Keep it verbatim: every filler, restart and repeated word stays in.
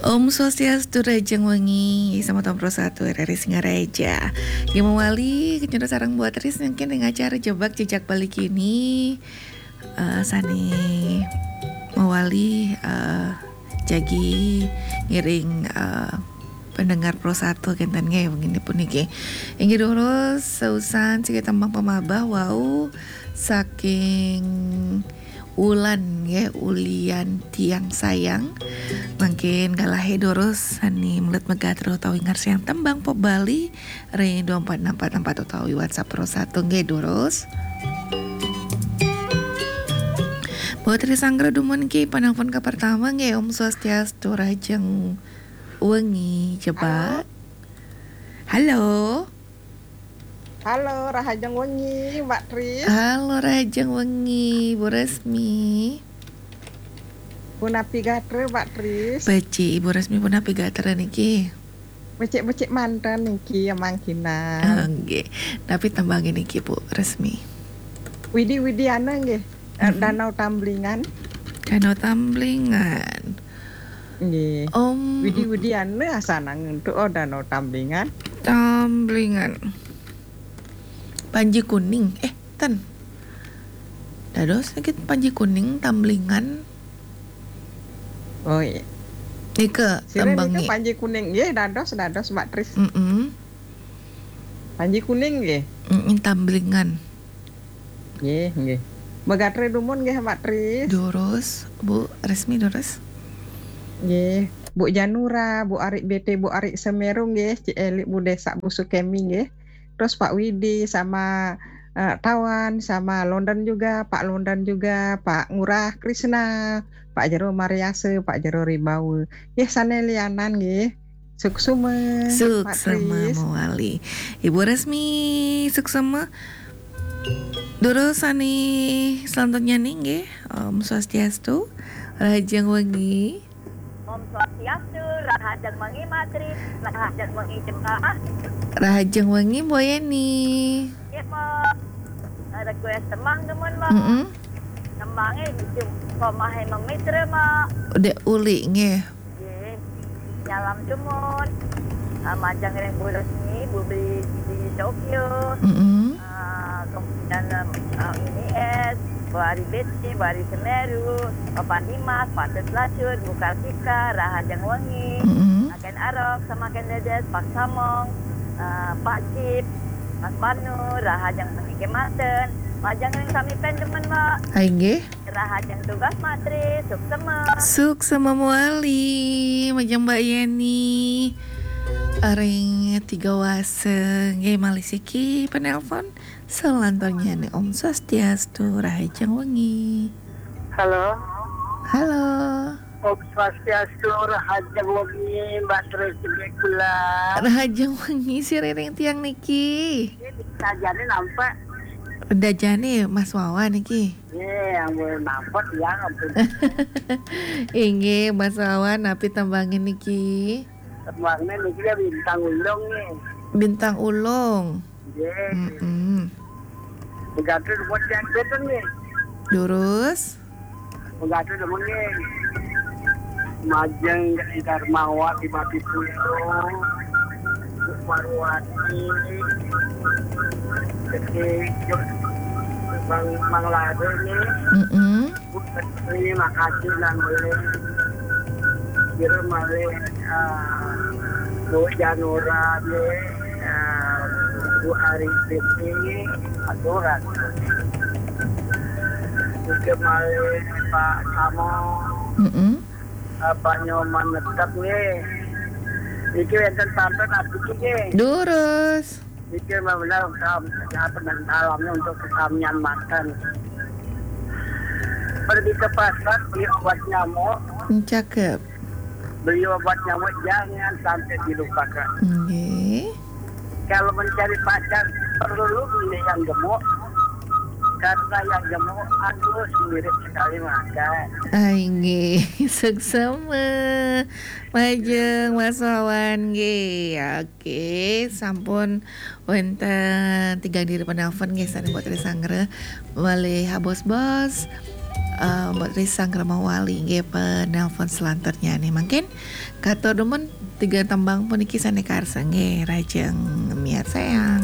Om Swastiastu, rahajeng wengi, sama Pro satu R R I Singaraja. Ya, mawali, kecunduk sareng Bu Tris mungkin ring acara Jebak Jejak Bali kini, eh, sane mawali, eh, jagi ngiring, eh, pendengar Pro satu kenten nggih, wengi puniki. Inggih durus, seusan siki tembang pamahbah wau saking Ulan nggih, Ulian Tiang Sayang. Mangkin galahe durus sane melet magatra utawi ngarsiang tembang pop Bali ring dua empat enam empat empat utawi WhatsApp Pro satu nggih durus. Bu Tris Anggra dumun ki penelpon ke pertama nggih, Om Swastiastu, rahajeng wengi, Jebak. Halo. Halo, rahajeng wengi, Mbak Tris. Halo, rahajeng wengi, Bu Resmi. Punapi gatra, Mbak Tris? Becik, Ibu Resmi, punapi gatra niki? Becik-becik manten niki, ya mangkinan. Ah, nggih. Tapi tembang niki, Bu Resmi. Widi-widiana nggih. Eh, Mhm. Danau Tamblingan. Danau Tamblingan. Nggih. Om. Widi-widiana asanang untuk, oh, Danau Tamblingan. Tamblingan. Panji Kuning. Eh, ten. Dados niki Panji Kuning, Tamblingan. Oh, iya. Nika sira nika tembangnya. Panji Kuning. Nggih, dados, dados, Mbak Tris. Mm-mm. Panji Kuning nggih. Mm-mm, Tamblingan. Nggih, nggih. Magatra dumun nggih, Mbak Tris. Durus, Bu Resmi, durus. Nggih. Bu Janura, Bu Ari B T, Bu Ari Semeru nggih, Cik Eli, Bu Desa, Bu Sukemi nggih. Terus Pak Widi sama, eh, Tawan, sama London juga, Pak London juga, Pak Ngurah Krisna, Pak Jero Mariase, Pak Jero Ribawa. Nggih, sane lianan nggih. Suksema, Mbak Tris. Suksema mawali. Ibu Resmi, suksema. Durus sane selanjutnya nih nggih, Om Swastiastu, rahajeng wengi. Om Swastiastu, rahajeng wengi, Mbak Tris, rahajeng wengi, Jebak. Rahajeng wengi, Bu Yeni. Nggih, Mbak. Request tembang dumun, Mbak. Mm-mm. Tembange Jum-, Komahe Memitra, Mbak. Udah uli nggih. Nggih. Nyalam dumun. Ah, majeng ring Bu Resmi, Bu Bli di Tokyo. Mm-mm. Ah, kemudian, eh, ini es, Bu Ari B T, Bu Ari Semeru, Bapak Dimas, Pak Tet Lacur, Bu Kartika, rahajeng wengi. Mm-mm. Makin Arok, sama Ken Dedes, Pak Samong, eh, Pak Cip, Mas Banu, rahajeng wengi kemanten. Majeng ring sami pen dumun, Mbak. Hai nggih. Rahajeng tugas, Mbak Tris, suksema. Suksema mawali, majeng Mbak Yeni. Ring Tiga Wase, nggih malih siki penelpon. Selanjutnya nih, Om Swastiastu, rahajeng wengi. Halo. Halo. Om Swastiastu, rahajeng wengi, Mbak Tris, kula. Rahajeng wengi, sira ring tiang niki. Ini dajane nampak. Dajane Mas Wawan niki. Nggih, ampun, nampak ya, ampun. Inggih, Mas Wawan, napi tembange niki? Tembange niki ya Bintang Ulung nggih. Bintang Ulung. Nggih. Mm-mm. Pegati dumun tiang kenten nggih. Durus. Pegati dumun nggih. Majeng Darmawati Batu Pulo, Marwati, Gede, Bang, Bang Lado nggih. Mm-mm. Bu Terima kasih nang beli. Kira malih, ah, Bu Janura nggih, ah, Bu Ari Siti, aturan. Juga malih Pak Samo, Mm-mm. ah, Pak Nyoman Netep nggih. Iki wonten pantun abdi nggih. Durus. Iki benar-benar, um, apa, dalamnya untuk kesamian makan. Pergi ke pasar, beli obat nyamuk. Cakep. Beli obat nyamuk, jangan sampai dilupakan. Nggih. Kalau mencari pacar, perlu milih yang gemuk. Karena yang gemuk, aduh, mirip sekali makan. Ai, nggih. Suksema. Majeng, Mas Wawan, nggih. Oke, sampun wenten tiga diri penelpon nggih, saking Mbok Trisanggra. Malih habos-bos. Eh, Mbok Risang Kramawali nggih, penelpon selanjutnya nih. Mangkin katur dumun tiga tembang puniki sane karsa nggih, rajeng miarsayang.